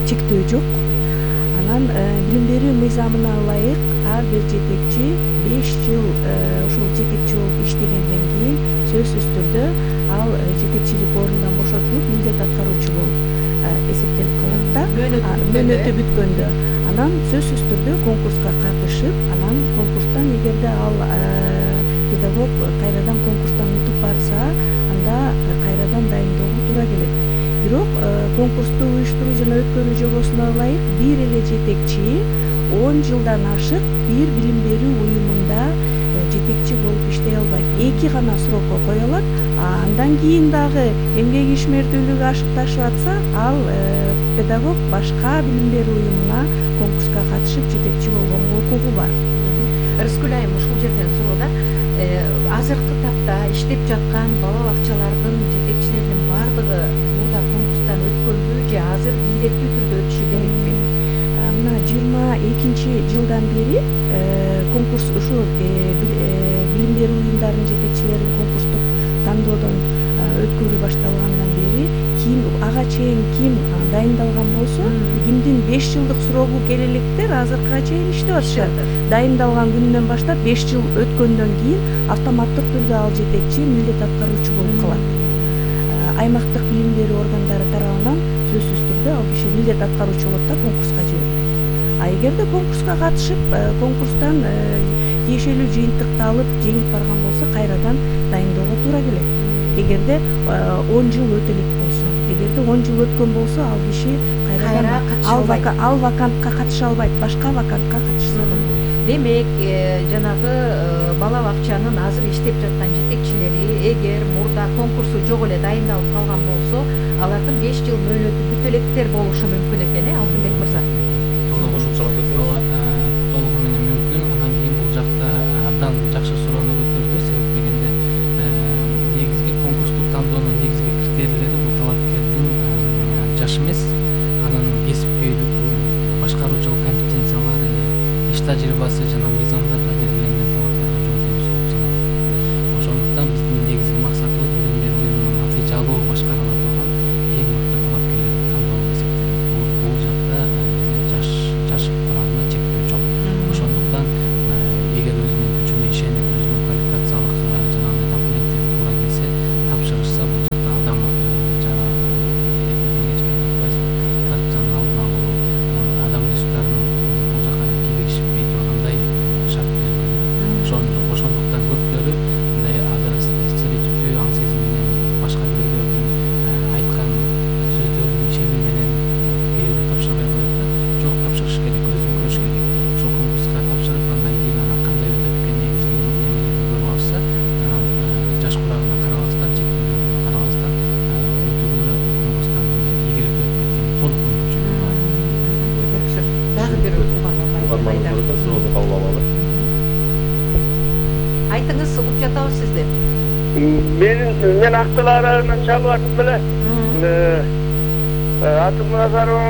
чектөө жок. Анан билим берүү мыйзамына ылайык ар бир жетекчи 5 жыл ошол жетекчи болуп иштегенден кийин сөзсүз түрдө ал жетекчилик ордунан бошотулуп милдет аткаруучу болуп эсептелип калат да. Мөөнөтү бүткөндө анан сөзсүз түрдө конкурска катышып, анан конкурстан эгерде ал педагог кайрадан конкурстан утуп барса, анда кайрадан дайындоого туура келет. Бирок конкурсту уюштуруу жана өткөрүү жобосуна ылайык бир эле жетекчи 10 жылдан ашык бир билим берүү уюмунда жетекчи болуп иштей албайт. 2 гана срокко коёлот. Андан кийин дагы эмгек ишмердүүлүгү ашып ташып атса, ал педагог башка билим берүү уюмуна конкурска катышып жетекчи болгонго укугу бар. Рыскүл айым, ушул жерден суроо да. Азыркы тапта иштеп жаткан бала бакчалардын жетекчилеринин бардыгы мурда конкурстан өткөнбү же азыр милдеттүү түрдө өтүшү керекпи? Мына 22 жылдан бери конкурс ушу билим берүү уюмдарынын жетекчилерин конкурстук тандоодон өткөрүү башталгандан бери ким ага чейин ким дайындалган болсо, кимдин 5 жылдык срогу келе электер азыркыга чейин иштеп атышат. Дайындалган күнүнөн баштап 5 жыл өткөндөн кийин автоматтык түрдө ал жетекчи милдет аткаруучу болуп калат. Аймактык билим берүү органдары тарабынан сөзсүз түрдө ал киши милдет аткаруучу болот да конкурска жиберилет. Эгерде конкурска катышып, конкурстан тиешелүү жыйынтыкты алып, жеңип барган болсо, кайрадан дайындоого туура келет. Эгерде 10 жыл өтө элек болсо, эгерде 10 жыл өткөн болсо, ал киши кайрадан ал вакантка катыша албайт, башка вакантка катышса болот. Демек, жанагы бала бакчанын азыр иштеп жаткан жетекчилери эгер мурда конкурсу жок эле дайындалып калган болсо, алардын 5 жыл мөөнөтү бүтө электер болушу мүмкүн экен, Алтынбек мырза. Толугу менен мүмкүн. Анан кийин бул жакта абдан жакшы суроону көтөрдү. Себеп дегенде негизги конкурстук тандоонун негизги критерийлери бул талапкердин жаш эмес, анын кесипкөйлүгү, башкаруучулук компетенциялары, иш тажрыйбасы жана мыйзамдарда белгиленген талаптарга жооп берүүсү болуп саналат. Ошондуктан биздин негизги максатыбыз билим берүү уюмунун натыйжалуу башкара ала турган эң мыкты талапкерлерди тандоо деп эсептелет. Бул жакта жаш курамына чектөө жок. Ошондуктан эгер өзүнүн күчүнө ишенип, өзүнүн квалификациялык жана документтери туура келсе, тапшырышса, бул жакта адам эртеден кечке айтып атпайбызбы, коррупциянын алдын алуу, адам ресурстарынын бул жака киргизишпей тургандай шарт түзүлгөн. Ошондуктан көптөрү мындай азыр стереотиптүү аң сезим менен башка бирөөлөрдүн айткан сөздөрүнүн ишенүү менен кээде тапшырбай коет да. Жок, тапшырыш керек, өзүн көрүш керек. Ошол конкурска тапшырып, андан кийин анан кандай өтөт экен негизги немелерин көрүп алышса, анан жаш курагына карабастан, чектөөлөрүнө карабастан өтүүгө конкурстан ийгиликтүү өтүп кеткенге толук мүмкүнчүлүгү бар. Жакшы. Дагы бир угарман суроосун кабыл алалы. Айтыңыз, угуп жатабыз сизди. Мен Актыл аралынан чалып аттым эле. Атым Назаров